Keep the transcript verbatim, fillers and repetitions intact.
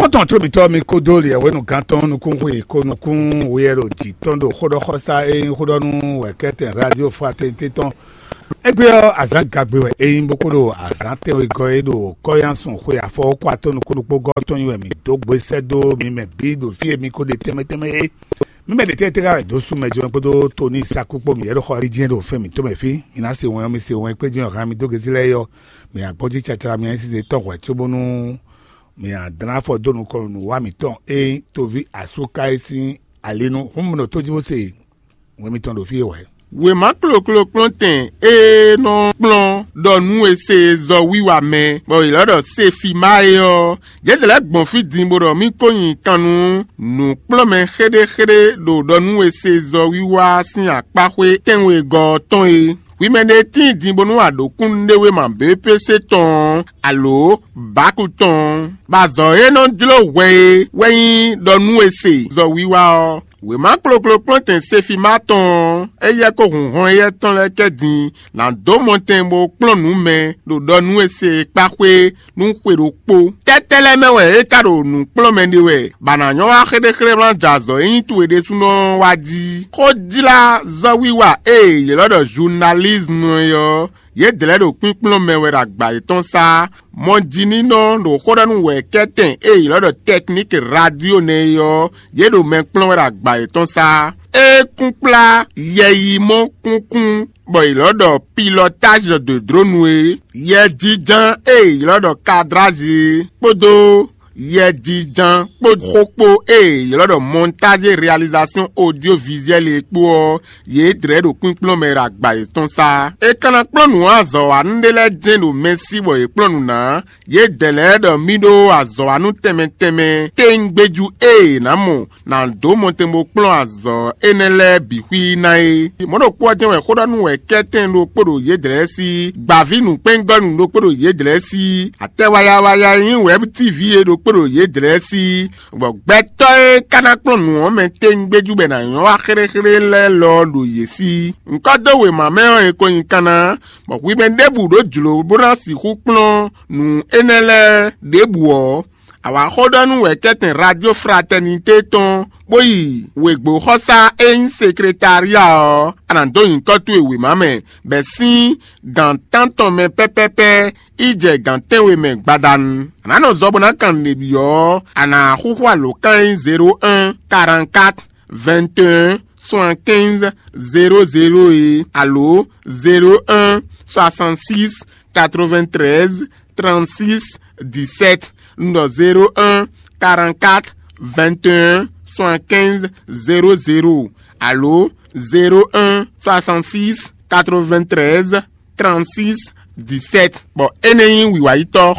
Kpɔ́ntɔn tló mǐtɔn mi kódó liɛ̌wénu gán tɔn nukúnxwe ko nukún weyɛ ɖo jǐ tɔn ɖo xóɖɔxɔsá e nyí xóɖɔnú wɛ̌kɛ́tɛn Radio Fraternité tɔn. Égbé ɔ́, azǎn gagbe wɛ é nyí bó kó ɖo azǎn tɛ́nwegɔ́ e ɖo kɔ́yánsun xwe afɔwɔ́kɔ atɔ́ nukúnnukpógɔ́ tɔn nyi wɛ mǐ dó gbe sɛ́ dó mi mɛ bǐ ɖo fí e mi ko ɖe tɛnmɛ tɛnmɛ é. Mi mɛ ɖě tɛ́ tɛ́ ká wɛ dó sú mɛ jɔ́n kpódó Toni Sakú kpó mǐ yɛ́ ɖo xɔ jí jɛ́n ɖo fɛ́n mǐtɔn mɛ fí. Mi ná se wɛn ɔ́, mi se wɛn kpé jɛ́n ɔ́, han mi dó gezi lɛ́ɛ é ɔ́, mi nya gbɔ́n jí cacala mi nya nyi size tɔn hwɛ̌ cóbónú mi nya dlán afɔ dó nukɔn nǔ wa mǐtɔn e nyí toví asú ká é sín ali nu. Hǔn mi ɖo tó jí bó se wɛn mitɔn ɖo fí e wɛ. Wěma kloklo kplɔ́ntɛn e nɔ kplɔ́n ɖɔ nú e se zɔ wiwa mɛ, bɔ è lɔ́ ɖɔ Sefima é ɔ́, yě lɛ́ gbɔn fí din bó ɖɔ mì ko nyi kan nú nǔkplɔ́nmɛ xéɖéxéɖé ɖo ɖɔ nú e se zɔ wiwa sín akpáxwé tɛ́nwegɔ́ ɔ́ tɔn é. Hwi mɛ ɖé tíin din bónú a ɖǒ kúnnuɖewéma B P C tɔn ɔ́, alǒ Baku tɔn ɔ́, bɔ azɔ̌ e nɔ jló hwɛ é wɛ nyí ɖɔ nú e se zɔ wiwa ɔ́. Wěma kloklo kplɔ́ntɛn Sefima tɔn ɔ́, éyɛ́ kó hun hɔn éyɛ́ tɔn lɛ́ɛ kɛ din, nǎ dó mɔtɛn bó kplɔ́n nǔ mɛ ɖo ɖɔ nú e se e kpá xwé nú xwe ɖokpó. Tɛ́tɛ́ lɛ́ɛ mɛ wɛ é ka ɖo nǔ kplɔ́n mɛ ɖe wɛ, bɔ a nǎ nyɔ́ wá xéɖéxéɖé wlán jɛ azɔ̌ e nyí towe ɖésúnɔ ɔ́ wá jí? Xójlázɔ́wiwa e yě lɔ́ ɖɔ zunalízmu é ɔ́, yědɛɛ lɛ́ɛ ɖo kpínkplɔ́n mɛ wɛ ɖo agba yětɔn sá. Mɔjínínɔ ɖo xó ɖɔ nú wɛ̌kɛ́tɛn e yě lɔ́ ɖɔ tɛkník radio nɛ́ é ɔ́, yě ɖo mɛ kplɔ́n wɛ ɖo agba yětɔn sá. É kún kplá yɛyimɔ kúnkún bɔ yě lɔ́ ɖɔ pilɔtázi de dronu é, yɛjínjɔ́n e yě lɔ́ ɖɔ kadrázi é, kpódó yɛjínjɔ́n kpó xó kpó e yě lɔ́ ɖɔ montage réalisation audiovisuelle é kpó ɔ́, yě dlɛ̌ ɖo kpínkplɔ́n mɛ ɖo agba yětɔn sá. È ka ná kplɔ́n nǔ azɔ̌wanú ɖé lɛ́ɛ jɛ́n ɖo mɛ sí bɔ yě kplɔ́n nǔ ná. Yědɛɛ lɛ́ɛ ɖɔ mì ɖó azɔ̌wanú tɛnmɛ tɛnmɛ téńgbéjú e è nǎ mɔ nǎ dó mɔtɛn bó kplɔ́n azɔ̌ énɛ́ lɛ́ɛ bǐ xwí ná é. Mɔ̌ ɖokpó ɔ́ jɛ́n wɛ xó ɖɔ nú wɛ kɛ́tɛn ɖokpó ɖo yědɛɛ sí gbǎví nǔkpɛ́ngɔ́nú ɖokpó ɖo yědɛɛ sí atɛ wayawaya e nyí wɛ̌b tívi é ɖokpó ɖo yědɛɛ sí, bɔ gbɛtɔ́ e ka ná kplɔ́n nǔ ɔ́ mɛ téńgbéjú bɔ è nǎ nyɔ́ wá xéɖéxéɖé lɛ́ɛ lɔ ɔ́ ɖo yě sí. Ŋkɔ́ dó wěma mɛ ɔ́, è ko nyi kanna, bɔ hwi mɛ ɖěbǔ ɖó jlǒ bó ná sixú kplɔ́n nǔ énɛ́ lɛ́ɛ ɖěbǔ ɔ́, a wǎ xó ɖɔ nú wɛ̌kɛ́tɛn Radio Fraternité tɔn, bó yi wěgbóxɔsá e nyí sekretária ɔ́, a nǎ dó nyǐkɔ towe wěma mɛ, bɛ̌ sín gǎn tántɔn mɛ pɛ́pɛ́pɛ́ yi jɛ gǎn tɛ́nwe mɛ gbadanu. A nǎ nɔ zɔ bó ná kan nǔɖé byɔ́ ɔ́, a nǎ xúxú alǒkan e nyí zéro un, quarante-quatre, vingt et un, soixante-quinze, zéro zéro é, alo zéro un, soixante-six, quatre-vingt-treize, trente-six, dix-sept, un ɖɔ zéro un, quarante-quatre, vingt et un, soixante-quinze, zéro zéro, alo zéro un, soixante-six, quatre-vingt-treize, trente-six, dix-sept. Bɔ énɛ́ nyí wǐwáyítɔ́